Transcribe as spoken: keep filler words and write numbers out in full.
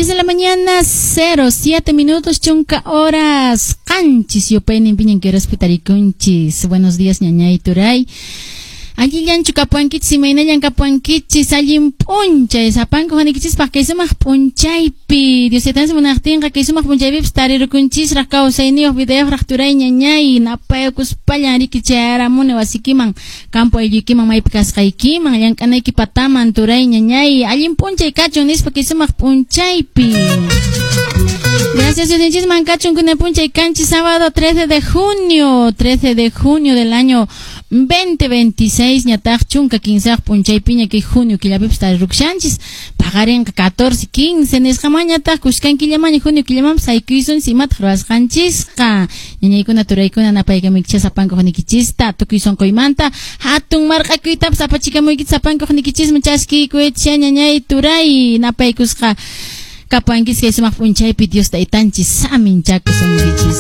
diez de la mañana, cero siete minutos, chunka horas, qanchis yupaynin piñan que tarikunchis. Buenos días, ñañay turay. Allillanchu kapuankichis, imaynallan kapuankichis, allin p'unchay, sapanku hanikichispaq kay sumaq p'unchaypi, Dios taytanchis munaqtinqa kay sumaq p'unchaypipis tarirukunchisraq kawsayniyuq vidayuqraq turay ñañay, napaykuspallan riki chayaramuni wasikiman, campo aylluykiman maypi kasqaykiman, llank'anayki pataman turay ñañay, allin p'unchay kachun nispa kay sumaq p'unchaypi. Gracias, Dios kachun kuna p'unchay kanchis sábado trece de junio, trece de junio del año veinte veintiséis, ñataq chunka kinsaq p'unchaypiña kay junio killapipis tarirukushanchis, paqarinqa catorce quince nisqaman ñataq kushkan killamaña junio killamanpas haykuysunchis imataq ruwasqanchisqa. Ñañaykuna turaykuna napaykamuykichis sapanka hunikichista tukuy sunquymanta hatun marq'akuytapas apachikamuykichis sapanka hunikichisman chaskiykuchisha ñañay turay napaykusqa kapuankichis kay sumaq p'unchaypi Dios taytanchis saminchakusunkichis.